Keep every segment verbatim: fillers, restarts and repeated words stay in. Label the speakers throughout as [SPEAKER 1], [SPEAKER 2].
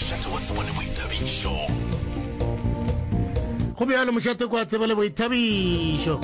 [SPEAKER 1] Mošate wa tsebo le boithabišo.
[SPEAKER 2] Go bjalo, mošate kwa tsebo le boithabišo.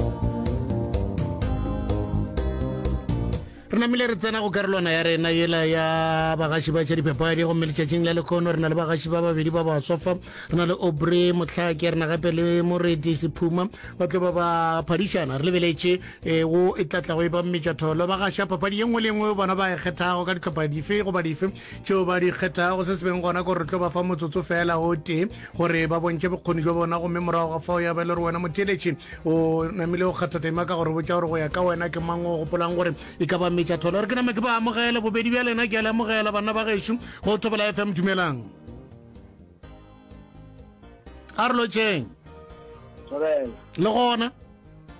[SPEAKER 2] Re namile re tsena go karolwana ya rena yela ya bagaši ba tša dipapadi, gomme letšatšing la lekhono re na le bagaši ba babedi ba baswa fa. Re na le Aubrey Mohlake, re na gape le Moreti Sephuma, ba tlo ba ba phadišana. Re lebeletše eh, wo e tla tlago e ba mmetšatholo. Ba gaša papadi ye nngwe le nngwe bona ba e kgethago ka dihlopha dife goba dife tšeo ba di kgethago. Se se beng gona ke gore re tlo ba fa motsotso fela o tee gore ba bontšhe bokgoni jwa bona, gomme morago ga fao ya ba e le gore wena motheeletši o namile o kgatha tema ka gore botša gore go ya ka wena ke mang o gopolang gore e ka ba metšatholo. Re ke name ke ba amogele bobedi bja lena, ke a le amogela banna ba gešo go Thobela F M. Dumelang, a re lotšeng. Le gona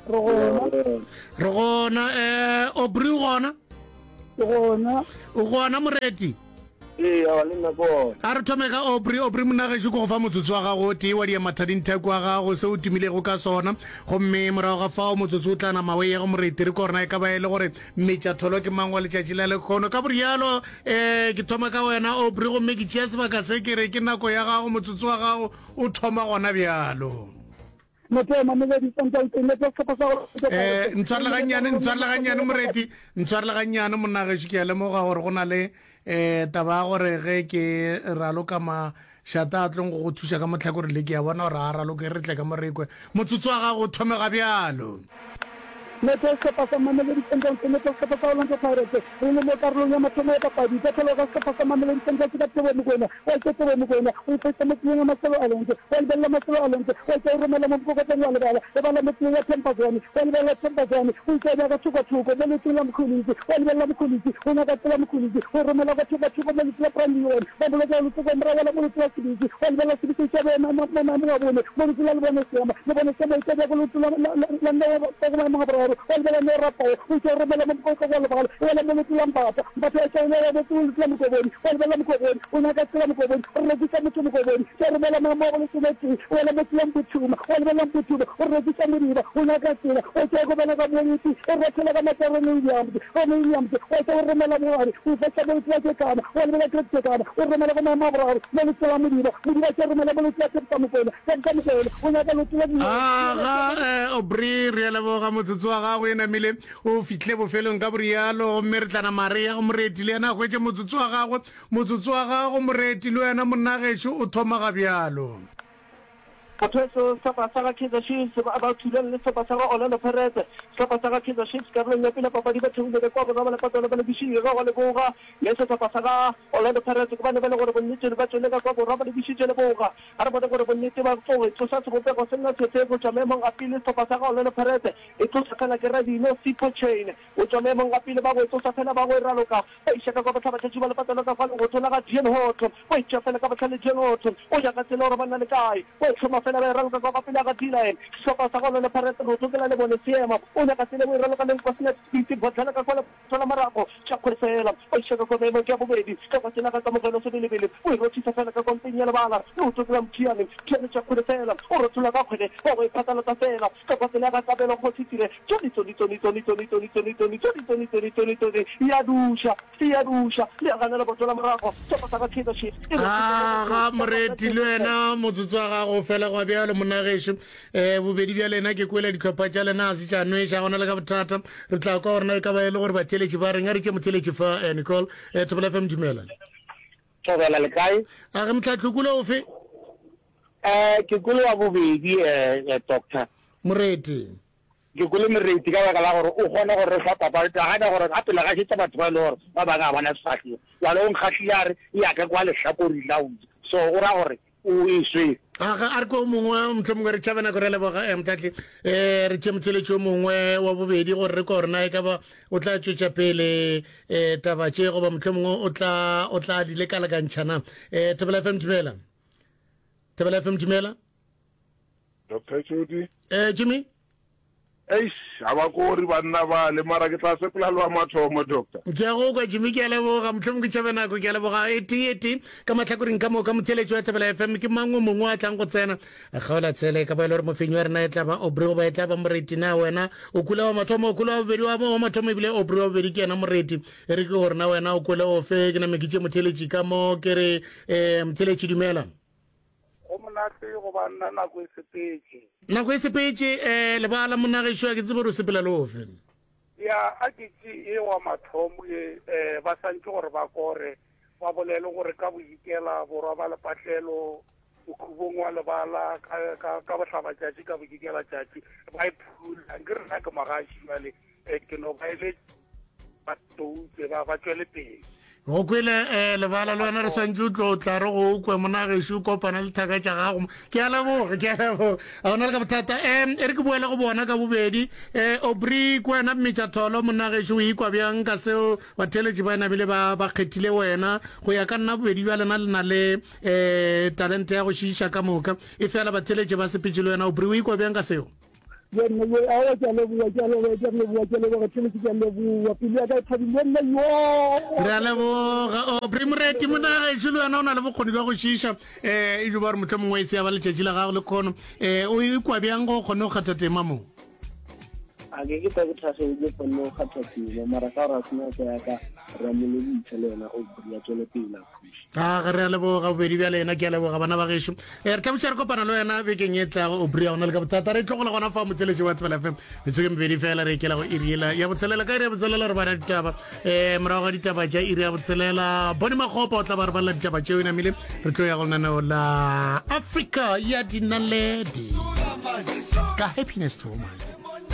[SPEAKER 3] re gona,
[SPEAKER 2] re gona. Um Aubrey o gona?
[SPEAKER 3] Ke gona.
[SPEAKER 2] O gona Moreti?
[SPEAKER 4] Ee, awa, le nna ke gona.
[SPEAKER 2] A re thome ka Aubrey. Aubrey monagešo, ke go fa motsotso wa gago o tee wa diemathadingtheko wa gago se o tumilego ka sona, gomme morago ga fao motsotso o tla nama o ye go Moreti, re ko rena e ka ba e le gore metšatholo ke mang wa letšatši la lekhono. Ka borialo um ke thoma ka wena Aubrey, gomme ke tšea sebaka se ke re ke nako ya gago, motsotso wa gago o thoma gona bjalo.
[SPEAKER 3] Motho Mamelodi Sundowns e netsa sehlopha sa go
[SPEAKER 2] Eh, ntshwarele gannyane, ntshwarele gannyane Moreti, ntshwarele gannyane monagešo, ke a lemoga gore go na le um taba ya gore ge ke raloka mašata a tlong go go thuša ka motlhakoreng le, ke a bona gore a raloke, re tle ka mo re kwe. Motsotso wa gago o thomega bjalo.
[SPEAKER 3] Netsa sehlopha sa Mamelodi Sundowns e netsa sehlopha sa Orlando Pirates. Re le mo karolong ya mathomo ya papadi, ka tlholo ga sehlopha sa Mamelodi Sundowns ka Teboho Mokoena. Wa etša Teboho Mokoena o iphetša mo tseleng ya Marcelo Alonso, wa lebelela Marcelo Alonso, wa etša o romela mo mokokotlong, wa lebala lebala mo tseleng ya Themba Zwane, wa lebelela Themba Zwane, o etša o bea ka thoko-thoko mo leotong la Mkhulisi, wa lebelela Mkhulisi, o nyaka tsela Mkhulisi, o romela ka thoko-thoko mo leotong la Brandon Leon, ba boloka leoto kwa morago la mo leotong la Sibisi, wa lebelela Sibisi, o etša bea mo maemong a bone mo leotong la Lebone Seema, Lebone Seema o etša bea ko leotong la la Neo ka go maemong a boraro, wa lebelela Neo Rapao, o etša o romela mo mokokotlong wa lebala, o wela mo leotong la Mbatha, Mbatha wa etša o nea mo leotong la Mokobodi, wa lebelela Mokobodi, o nyaka tsela Mokobodi, o rekiša motho Mokobodi, tša romela maemo a go lesometee, o wela mo tseleng Mbuthuma, wa lebelela Mbuthuma, o rekiša Modiba, o nyaka tsela, o etša o gobela ka Moeti, o rothela ka matla Ronnie Williams, Ronnie Williams, wa etša o romela Mogare, o ifetša mo leotong la Kekana, wa lebelela Great Kekana, o romela go maemo a boraro mo leotong la Modiba, Modiba tša romela mo leotong la Tebsa Mokoena, Tebsa Mokoena, o nyaka leoto la Diela,
[SPEAKER 2] Aga, eh, Aubrey, re a leboga motsotso wa gago e namile o fihle bofelong ka borialo, gomme re tla nama re ya go Moreti le yena a hwetše motsotso wa gagwe. Motsotso wa gago Moreti le wena monagešo o thoma ga bjalo.
[SPEAKER 4] Motho sehlopha sa ga Kaizer Chiefs ba ba thulana le sehlopha sa ga Orlando Pirates. Sehlopha sa ga Kaizer Chiefs karolong ya pele ya papadi ba theohile ka kwa borwa ba lepatolo ba lebišitše ka go leboga, le sehlopha sa ga Orlando Pirates ke bane ba le gore bonnete ba tšwele ka kwa borwa ba lebišitše leboga. A re bone gore bonnete ba tlo e tsoša sebopego se nna sefe go tšwa maemong a pele. Sehlopha sa ga Orlando Pirates e tloša fela ke Radino Sipho Chain o tšwa maemong a pele, ba go e tloša fela ba go e raloka ba iša ka kwa bohlabatšatši ba lepatolo ka kwa legotho la ga Dean Hotto, o e tšea fela ka bohlale Dean Hotto o ya ka tsela gore ba na le kae, o e hloma fela ba e raloka ka kwa pele ga D-line. Sehlopha sa ga Orlando Pirates rotho ke la lebone seema o nyaka tsela o e raloka le Nkosinathi Sibisi Bodlala ka kwa lepatolo la morago tša kgwele fela ba iša ka kwa maemong ke ya bobedi ka kwa tsela ga Kamogelo Sebelebele o e rothisa fela ka kwa mpeng ya lebala leoto ke la Mthiane, Mthiane tša kgwele fela o rothola ka kgwele ba go e phatlalatsa fela ka kwa tsela ga Kabelo Kgosi Tire tsoni tsoni tsoni tsoni tsoni tsoni tsoni tsoni tsoni tsoni tsoni tsoni tsoni ya duša ya duša le ya ganela boto la morago sehlopha sa ga Kaizer Chiefs e
[SPEAKER 2] Aga Moreti le wena motsotso wa gago fela gwa bjalo monagešo. Um bobedi bja lena ke kwele dihlopha tša lena a se tša nweša gona le ka bothata. Re tla kwa gore na e ka ba e le gore batheeletši ba reng. A re tše motheeletši fa, eh, Nicole. Eh, Thobela F M, dumela.
[SPEAKER 5] Thobela le kae?
[SPEAKER 2] A ge motlhatlhokolo ofe?
[SPEAKER 5] Eh, ke kwele wa bobedi, eh, eh, doctor.
[SPEAKER 2] Moreti.
[SPEAKER 5] Ke kwele Moreti ka baka la gore o kgone gore re fa papadi, nagana gore gape le gašetša batho ba e le gore ba bangwe ga bona sefahlego. Jwale o nkgahlile a re e ya ka kwa lehlakoreng la uja. So o ra gore o e swere.
[SPEAKER 2] Aga a re ko mongwe mohlomongwe re tšhabe nako re leboga eh, motlhatli. Eh, re tšee motheeletši o mongwe wa bobedi gore re kwa gore na e ka ba o tla tšwetša pele eh, taba tše goba mohlomongwe o tla o tla di lekalekantšha na. Eh, Thobela F M, dumela. Thobela F M, dumela.
[SPEAKER 6] Doctor Jody.
[SPEAKER 2] Eh, Jimmy.
[SPEAKER 6] Eish, ga ba kore banna bale, mara ke tla sepela le wa mathomo, Doctor.
[SPEAKER 2] Ke a go kwa, Jimmy, ke a leboga. Mohlomong ke tšhabe nako, ke a leboga. E tee, e tee, ka mahlakoreng ka moka, motheeletši wa Thobela F M, ke mang o mongwe a tlang go tsena? A kgaola tshele, e ka ba e le gore mofenyi wa rena e tla ba Aubrey goba e tla ba Moreti. Na wena o kwele wa mathomo, o kwele wa bobedi? Wa, wa mathomo ebile Aubrey, wa bobedi ke yena Moreti. E re ke gore na wena o kwele ofe? Ke name ke tše motheeletši ka mo, ke re, eh, motheeletši, dumela.
[SPEAKER 7] Go monate go ba nna, nako e sepetše.
[SPEAKER 2] Nako e sepetše, eh, lebala monna gešo, a ke tsebe gore o sepela le ofe.
[SPEAKER 7] Ya, a ke tše e wa mathomo ye, eh, ba santše gore ba kore, ba bolele gore ka bodikela borwa ba lepatlelo, mokhubong wa lebala, ka, ka, ka bohlabatšatši, ka bodikelatšatši, ba e phula. Nke rena ke magaši bjale, eh, ke no ba eletša ba toutse, ba, ba tšwele pele.
[SPEAKER 2] Go kwele um lebala le wena re swantse o tlo tla re go kwe mona gešo o kopana le thaka tša gago. Ke a leboga, ke a leboga, a gona le ka bothata. um e re ke boele go bona ka bobedi. um Aubrey, ke wena mmetša tholo monna gešo, o ikwa bjang ka seo batheeletši ba nabile ba ba kgethile wena? Go ya ka nna bobedi bja lena le na le um talente ya go šiiša ka moka, e fela batheeletši ba sepetše le wena. Aubrey, o ikwa bjang ka seo?
[SPEAKER 3] Ye nna ye, aowa, ke a leboga, ke a leboga, ke a leboga, ke a leboga, Tšhelete, ke a leboga. Pelo ya ka e thabile nna, yoo.
[SPEAKER 2] Re a leboga, Aubrey. Moreti monna gešo, le wena o na le bokgoni bja go šiiša, um e jo ba gore mohlomongwe mongwe e tseya ba letšatši la gago le kgono. um o ikwa bjang go kgone go kgatha tema mo?
[SPEAKER 8] A ke ke tla ke thagetse kgonne go kgatha tema, mara ka gore a se nako ya ka, re a mo lebogiša le yena Aubrey, a tswele pele a phuše.
[SPEAKER 2] A ga re a leboga bobedi bja lena, ke a leboga bana ba gešo. um re tla botša re kopana le wena bekeng e tlago, Aubrey, a gona le ka bothata. Re tlogola gona fa motseletši wa Thobela F M, metsoko e mebedi fela re ekela go iri ela ya botshelela. Ka iri ya botshelela re bala ditaba, um morago ga ditaba tša iri ya botshelela Bone Makgopa o tla ba re balela ditaba tšeo. E namile re tlo ya go lenaneo la Afrika ya Dinaledi ka Happiness Toma.